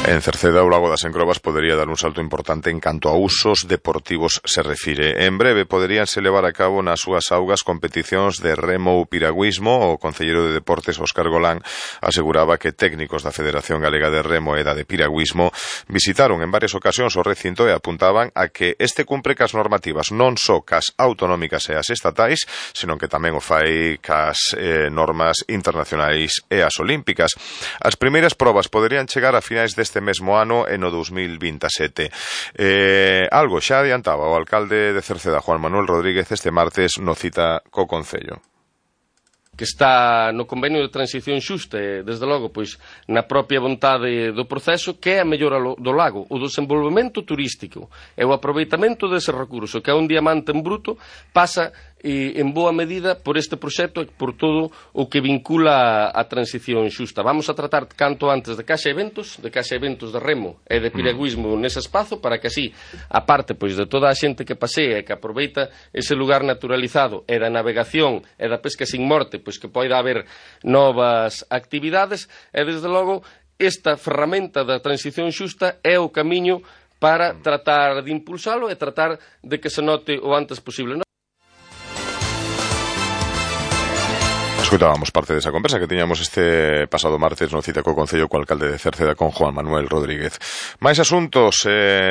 En Cerceda, o Lago das Encrobas podería dar un salto importante en canto a usos deportivos se refire. En breve poderíanse levar a cabo nas súas augas competicións de remo ou piragüismo. O concelleiro de Deportes, Óscar Golán, aseguraba que técnicos da Federación Galega de Remo e da de Piragüismo visitaron en varias ocasións o recinto e apuntaban a que este cumpre cas normativas non só cas autonómicas e as estatais, senón que tamén o fai cas normas internacionais e as olímpicas. As primeiras probas poderían chegar a finais deste mesmo ano e no 2027. Algo xa adiantaba o alcalde de Cerceda, Juan Manuel Rodríguez, este martes no cita co Concello. Que está no convenio de transición xusta e, desde logo, pois, na propia vontade do proceso, que é a mellora do lago, o desenvolvemento turístico e o aproveitamento dese recurso, que é un diamante en bruto, pasa en boa medida por este proxecto e por todo o que vincula a transición xusta. Vamos a tratar canto antes de caixa eventos de remo e de piragüismo nese espazo, para que así, a parte pois de toda a xente que pasea e que aproveita ese lugar naturalizado e da navegación e da pesca sin morte, pois que poida haber novas actividades e, desde logo, esta ferramenta da transición xusta é o camiño para tratar de impulsalo e tratar de que se note o antes posible. Escutábamos parte desa conversa que tiñamos este pasado martes no cita co Concello co alcalde de Cerceda, con Juan Manuel Rodríguez. Mais asuntos,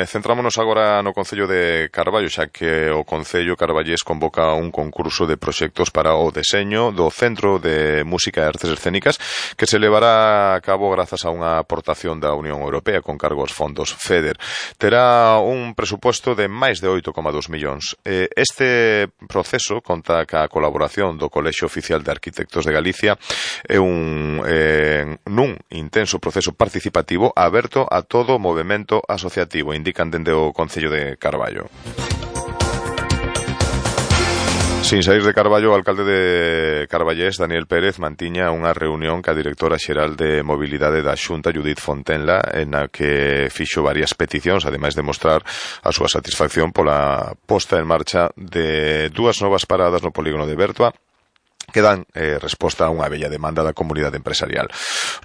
centrámonos agora no Concello de Carballo, xa que o Concello carballés convoca un concurso de proxectos para o deseño do Centro de Música e Artes Escénicas, que se levará a cabo grazas a unha aportación da Unión Europea con cargo aos fondos FEDER. Terá un presuposto de máis de 8,2 millóns. Este proceso conta ca colaboración do Colexio Oficial de Arquitectos de Galicia é nun intenso proceso participativo aberto a todo o movemento asociativo, indican dende o Concello de Carballo. Sin saír de Carballo, o alcalde de Carballés, Daniel Pérez, mantiña unha reunión ca directora xeral de Mobilidade da Xunta, Judith Fontenla, en a que fixo varias peticións, ademais de mostrar a súa satisfacción pola posta en marcha de dúas novas paradas no polígono de Bertua, que dan resposta a unha bella demanda da comunidade empresarial.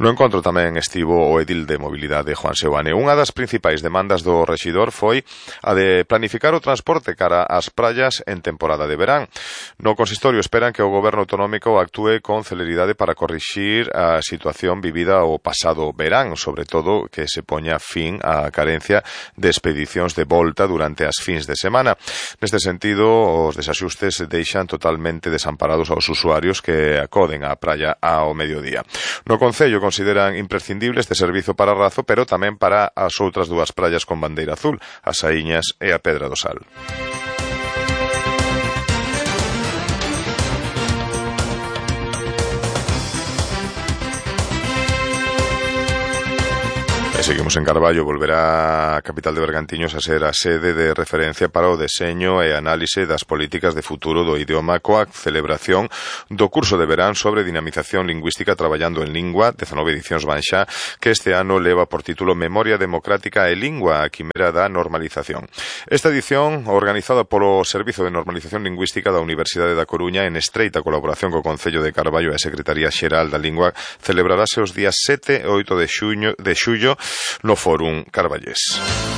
No encontro tamén estivo o edil de mobilidade, Juan Seoane. Unha das principais demandas do rexidor foi a de planificar o transporte cara ás praias en temporada de verán. No consistorio esperan que o goberno autonómico actúe con celeridade para corrixir a situación vivida o pasado verán, sobre todo que se poña fin á carencia de expedicións de volta durante as fins de semana. Neste sentido, os desaxustes deixan totalmente desamparados aos usuarios que acoden á praia ao mediodía. No Concello consideran imprescindible este servizo para Razo, pero tamén para as outras dúas praias con bandeira azul, as Saíñas e a Pedra do Sal. Seguimos en Carballo. Volverá a capital de Bergantiños a ser a sede de referencia para o deseño e análise das políticas de futuro do idioma, coa celebración do curso de verán sobre dinamización lingüística traballando en lingua, 19 edicións van xa, que este ano leva por título Memoria Democrática e Lingua, a quimera da normalización. Esta edición, organizada polo Servizo de Normalización Lingüística da Universidade da Coruña, en estreita colaboración co Concello de Carballo e a Secretaría Xeral da Lingua, celebrarase os días 7 e 8 de xullo no Fórum Carballés.